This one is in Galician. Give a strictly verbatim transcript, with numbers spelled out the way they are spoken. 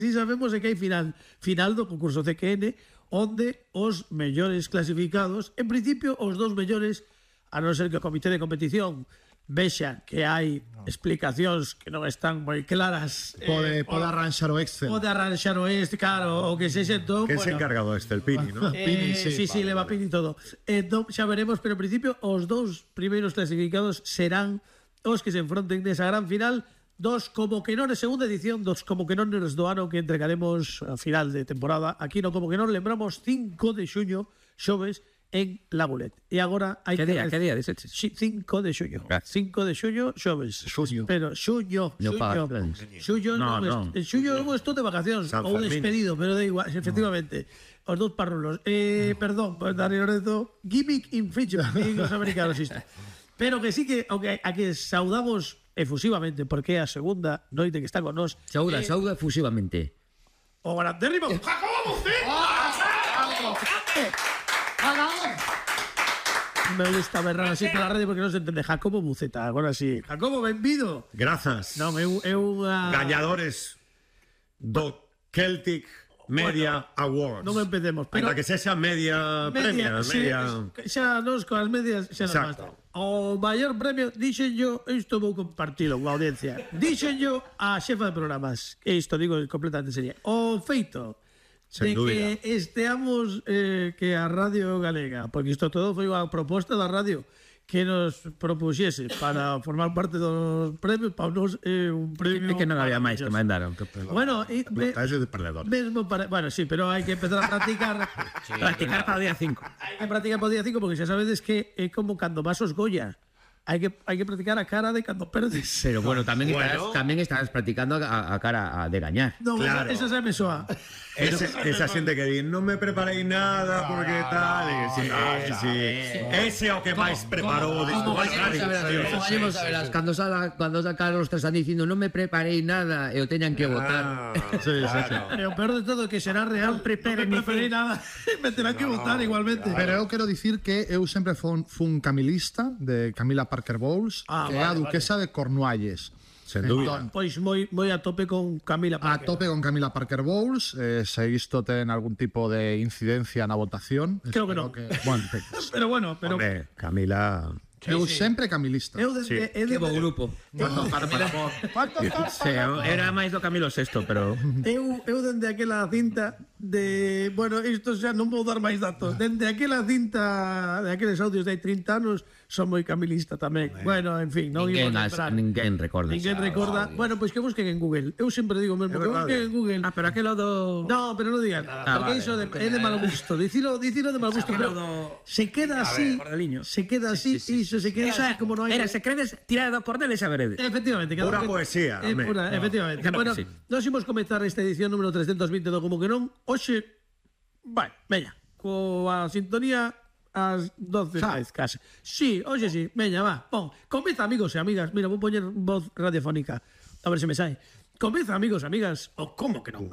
si sabemos é que hai final final do concurso C Q N onde os mellores clasificados, en principio os dous mellores, a non ser que o comité de competición vexa que hai explicacións que non están moi claras, Pode, eh, pode arranxar o Excel. pode arranxar o este, claro, o que se xentón, Que se bueno, encargado este, el Pini, ¿no? Eh, Pini, sí, sí, sí, vale, leva vale. Pini todo. Entón, xa veremos, pero en principio os dous primeiros clasificados serán os que se enfronten nesa gran final dos como que non é segunda edición, dos como que non nos do ano que entregaremos a final de temporada. Aquí no como que non lembramos cinco de xuño, xoves, en La Bulet. E agora hai Que que... día, que día, dices? Sí, cinco de xuño. Gracias. cinco de xuño, xoves. Xuño. Pero xuño, No xuño. paga plans. Xuño No, non, no. en xuño eu estou de vacacións San ou Fermín. despedido, pero da igual, efectivamente. Os dous parrulos. Eh, perdón, pues Dani Lorenzo, gimmick infringement, os americanos isto. Pero que sí que, aunque a que saudamos efusivamente, porque é a segunda noite que está con nós, Sauda, sauda efusivamente. o grandérrimo Jacobo Buceta. Me gusta berrar así pola radio porque non se entende. Jacobo Buceta, agora sí. Jacobo, benvido. Grazas. Non, é un- é unha... Gañadores do Celtic Media Awards. Non empecemos, pero- Ainda que sexa media, premia, sí, media... xa nos coas medias xa nos Exacto. basta. O maior premio, dixen yo, isto vou compartilo coa audiencia. Dixen yo a xefa de programas, e isto digo completamente seria. O feito Sen de dúbida. que esteamos eh, que a Radio Galega, porque isto todo foi unha proposta da radio que nos propuxese para formar parte dos premios, para nos é eh, un premio... É que non había máis que maravilloso. mandaron. Que... Bueno, e, me, Ese de perdedor. mesmo para, bueno, sí, pero hai que empezar a practicar. Practicar para o día cinco. Hai que practicar para o día cinco porque xa sabedes que é como cando vas aos Goya. Hai que hai que practicar a cara de cando perdes. Pero bueno, tamén estás, Bueno. tamén estás practicando a, a cara a- de gañar. Non, Claro. esa, esa xa me soa. Ese, esa xente que di, non me preparei nada porque tal, e sí, sí. Ese é o que máis preparou disto. Como vayamos a ver, como vayamos a ver, cando sala, cando sacaron os tres están dicindo non me preparei nada e o teñan que votar. Sí, sí, sí. E o peor de todo é que será real, prepare, non me preferí nada. Me terán que votar igualmente. Pero eu quero dicir que eu sempre fun, fun camilista de Camila Parker Bowles, Ah, que é a vale, duquesa de Cornualles. Sen dúbida. Entón, Pois moi moi a tope con Camila a Parker. tope con Camila Parker Bowles, eh, se isto ten algún tipo de incidencia na votación. Creo que espero non. bueno, Pero bueno, pero Hombre, Camila... eu sempre camilista. eu desde Sí. eu Que bo desde, grupo. Sí, era máis do Camilo sexto, pero eu, eu dende aquela cinta de, bueno, isto xa non vou dar máis datos. Dende aquela cinta de aqueles audios de hai trinta anos son moi camilista tamén. Bueno, en fin, non ninguén, imos as, lembrar. ninguén recorda. Ninguén recorda. Bueno, pois que busquen en Google. Eu sempre digo mesmo É que verdade. busquen en Google. Ah, pero aquelo do... No, pero non digan nada, Ah, porque vale. iso de, é de mal gusto. Dicilo, dicilo de mal gusto, Aquilo pero do- se queda así, Cordeliño. se queda así, iso se queda así, como non hai. Era, se credes, tirar do cordel e saberedes. Efectivamente, cada Pura que- poesía, é home. pura, efectivamente. Claro Bueno, que sí. nós imos comezar esta edición número trescentos vinte do Como que non. Hoxe, vai, veña, coa sintonía ás doce máis case. Sí, hoxe sí, veña, va, pon. Comeza, amigos e amigas. Mira, vou poñer voz radiofónica, a ver se me sai. Comeza, amigos e amigas, o Como que non.